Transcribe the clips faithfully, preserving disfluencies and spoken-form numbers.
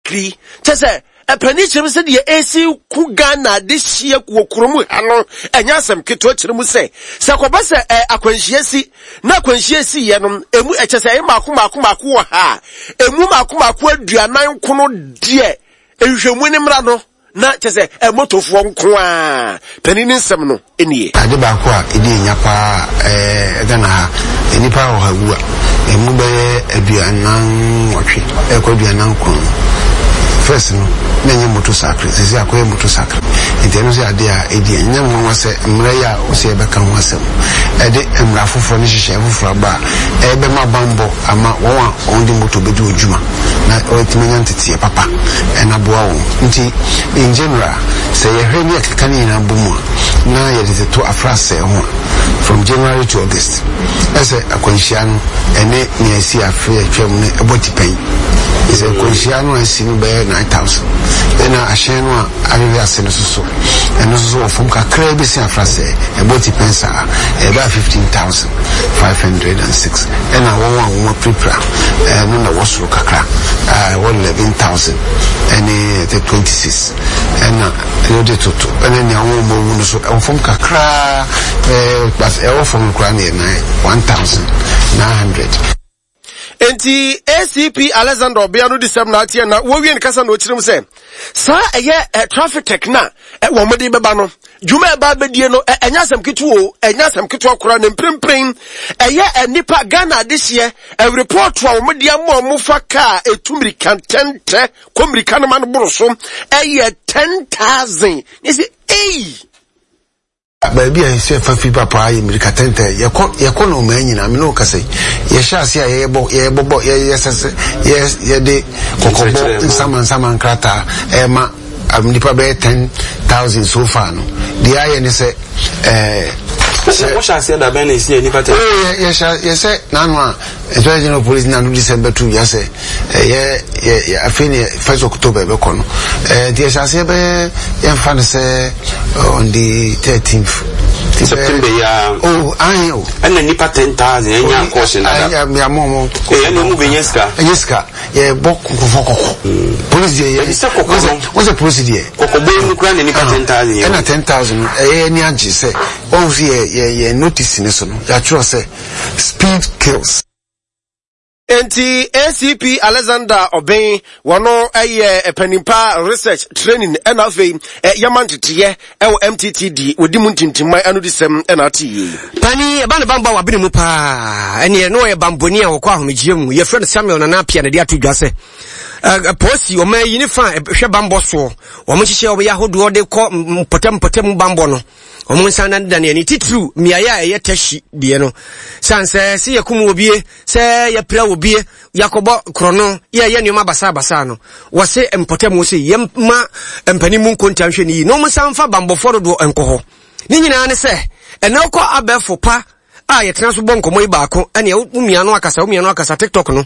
motorcycle kyɛ sɛ ɛpɛni kyerɛ mu sɛ deɛ esi ku Ghana de hyia wɔ kurom ha no, ɛnyɛ asɛm ketewa. Kyerɛ mu sɛ sɛ kɔba sɛ ɛ akwanhyia si na akwanhyia si yɛ no emu ɛkyɛ sɛ ɛyɛ mako mako mako wɔ ha a, emu mako mako aduanan kono deɛ, nhwehwɛmu ne mmra no na kyɛ sɛ ɛmotofoɔ nko a. Panin ne nsɛm no nie. Ade baako a ɛdi enya paa ɛɛ Ghana ha, nnipa wɔ ha wu a, emu bɛyɛ aduanan nwɔtwe ɛkɔ aduanan nkron no, first no na ɛnyɛ motorcycle, sisi akɔyɛ motorcycle. Nti ɛno nso yɛ ade a ɛdi ɛnyɛ nwanwa sɛ mmerɛ yi a wɔsɛ yɛbɛka ho asɛm, ɛde mmara foforɔ ne hyehyɛ foforɔ aba a ɛbɛma bambɔ ama wɔn a wɔn de moto bɛdi wɔn dwuma na wɔatumi anya nteteɛ papa ɛna aboa wɔn. Nti in general, sɛ yɛhwɛ ne yɛkeka ne nyinaa bɔ mu a, na yɛde toto afrasɛɛ ho a, from January to August, ɛsɛ akwanhyia no ɛne nea ɛsi afe atwam no ɛbɔ tipɛn. Sɛ akwanhyia no a ɛsi no bɛyɛ nine thousand, ɛna ahyɛn no a ahwehwɛ ase no soso, ɛno nso so wɔ fam kakraa bi si afrasɛɛ, ɛbɔ tipɛn saa, ɛbɛyɛ fifteen thousand five hundred and six. Ɛna wɔn a wɔn apirapira ɛno na ɛwɔ soro kakra a ɛwɔ eleven thousand ɛne ɛtɛ twenty six. Ɛna yɛde toto ɛne nea wɔn a wɔn no so ɛwɔ fam kakraa ɛɛ but ɛwɔ fam koraa ne yɛ nine one thousand nine hundred. Nti A C P Alexander ɔbea no di sɛm na ateɛ na wɔwie ne kasa na ɔkyerɛ mu sɛ saa ɛyɛ ɛ traffic tech na ɛ wɔn de bɛba no, dwuma ɛba abɛdie no, ɛ ɛnyɛ asɛm ketewa o, ɛnyɛ asɛm ketewa koraa. Ne mprempren ɛyɛ ɛ nipa Ghana adehyeɛ ɛ report a wɔn de ama wɔn fa kaa etu mirika ntɛntɛ kɔ mirika no ma no boro so ɛyɛ ten thousand. Ne sɛ eyi. Baabi a yɛsɛ fa fi papa yɛ mmirika tɛntɛ, yɛkɔ yɛkɔ na ɔmaa nyinaa me ne wo kasa yi, yɛhyɛ ase a yɛyɛbɔ yɛbɔbɔ yɛyɛ sɛ sɛ yɛ yɛde kɔkɔbɔ nsama nsama nkrataa ɛma um, nipa bɛyɛ ten thousand so far no, deɛ ayɛ ne sɛ ɛɛ sɛ wɔhyɛ aseɛ da bɛn na esi yɛ nipa ten? Ee, yɛhyɛ yɛsɛ n'ano a Inspector General Police n'ano December two yɛ sɛ ɛyɛ yɛ yɛ afei ne first October ɛbɛkɔ no. ɛɛ nti yɛhyɛ aseɛ bɛyɛ, yɛmfa no sɛ on the thirteenth September yi a? Oh, ayi o. Ɛna nipa ten thousand ɛnya kɔɔsi nada? Ɛyɛ àmọ́ ɔmɔ. Ee, ɛna ɔmu bɛ nyɛ sika. Ɛnyɛ sika, yɛ bɔ nkɔfɔ kɔkɔ, polisi deɛ yɛ. Ɛbi sɛ kɔkɔ no. Wọ́n sɛ polisi deɛ. Kɔkɔbɔ yi mu kura na nipa ten thousand yɛ. Ɛna ten thousand ɛyɛ ani agye sɛ wɔn nso yɛ yɛ yɛ notice ne so no, yɛatwerɛ sɛ "Speed kills." Nti A C P Alexander Ɔbɛn, wɔno ɛyɛ panimpa research training ɛna afei yɛma nteteyɛ ɛwɔ M T T D, wɔdi mu ntintimman ano di sɛm ɛna ate yie. Pani ɛba ne bambɔ a wabene mu paa, ɛneɛ na ɔyɛ bambɔni a wɔkɔ ahomegyeɛ mu, yɛfrɛ no Samuel Nana Apia, ne de ato dwa sɛ polisi ɔma yi ne fa hwɛ bambɔ soɔ, wɔn nhyehyɛ wɔn yɛ ahodoɔ de kɔ mpɔtam mpɔtam bambɔ no, wɔn nsa danedane ani titiriw mmeaeɛ a ɛyɛ Teshie deɛ no, san sɛ sɛ yɛkum wɔ bie, sɛ yɛpira wɔ bie, yɛakɔbɔ korɔno, yɛyɛ nneɛma basabasa no, wɔse mpɔtam wɔ sɛ yɛma mpanin mu nkonta nhwɛ ne yi na wɔn nsa mfa bambɔfoɔ dodoɔ nkɔ hɔ. Ne nyinaa ne sɛ ɛnɛ wokɔ abɛɛfo pa a yɛtena so bɔ nkɔmmɔ yi baako, ɛne wo mia no akasa, wo mia no akasa TikTok no,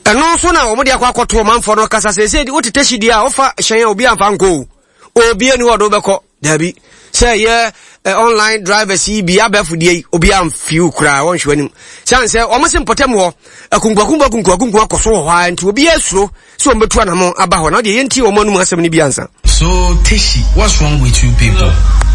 ɛno nso na wɔn de akɔ akɔto ɔmanfoɔ no kasa sɛ sɛ wote Teshie deɛ a, wofa hyɛn a, obi amfa nkɔ o, obi ani hɔ ɔde wobɛkɔ dabi sɛ yɛ online drivers yi bi abɛɛfo deɛ yi, obi amfiw koraa, wɔnhwɛ anim sane sɛ wɔn se mpɔtam hɔ akunkuakunku akunkuakunku akɔ so wɔ hɔ a, nti obi asuro sɛ wɔn bɛtu anamo aba hɔ na ɔdeɛ yɛntie wɔn anum asɛm no bi ansa. So Teshie, what's wrong with you people?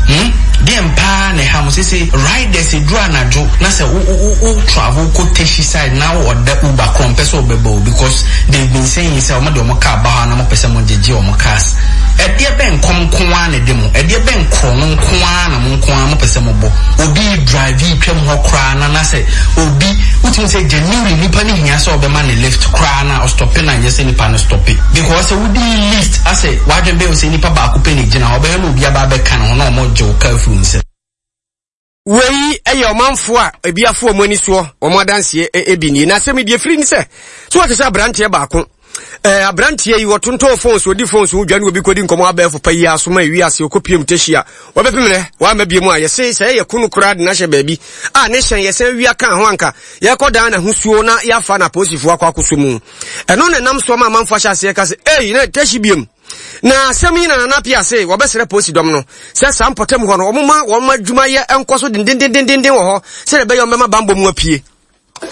Hmm? Deɛ paa na ɛha mo sese riders, eduru anadwo na sɛ wo wo wo travel kɔ Teshie side na wo ɔda Uber korɔ mpɛ sɛ ɔbɛbɔ o, because they been saying sɛ ɔmo de ɔmo car ba hɔ na mo pɛ sɛ mo gyegye ɔmo cars. Ɛdeɛ bɛn nkɔm nko ara na ɛde mo? Ɛdeɛ bɛn korɔ no nko ara na mo nko ara mo pɛ sɛ mo bɔ? Obi drive yi twam hɔ koraa na na sɛ obi wotumi sɛ genuinely nipa ne hia sɛ ɔbɛma ne lift koraa na ɔstop na nyɛ sɛ nipa no stop, because sɛ wodi lift asɛ wadwen bɛyɛ sɛ nipa baako pɛ ne gyina hɔ, ɔbɛyɛ na obi aba abɛka ne ho na ɔmo gye wo kaa firi nsam. Wei yɛ ɔmanfoɔ a ebi afo wɔn ani soɔ, wɔn adanseɛ ebi nie. Na asɛm yi deɛ firi ni sɛ so wɔte sɛ aberanteɛ baako, ɛɛ aberanteɛ yi wɔtontɔn phones, odi phones ho dwa, ne obi kɔdi nkɔmɔ abɛɛfo pa yi asoma ewi ase ɔkɔpie mu Teshie a wɔbɛpem nɛ wɔama bie mu a yɛse sɛ ɛyɛ kono koraa de n'ahyɛ baabi a ne hyɛn yɛsɛn wia ka ho anka yɛkɔ dan n'ahosuo na yɛafa na apolisifoɔ akɔ akɔso mu. Ɛno na ɛnam so ama amanfoɔ ahyɛ aseɛ ka sɛ ei, na Teshie biem na asɛm yi na Nana Pia se wɔbɛsrɛ polisi dɔm no sɛ saa mpɔtam hɔ no, wɔmma wɔn adwumayɛ nkɔ so dendendendenden wɔ hɔ sɛdeɛ ɛbɛyɛ wɔn bɛma bambɔ mu apue.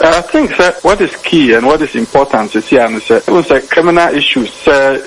I think sir, what is key and what is important is here and say, say criminal issues sɛ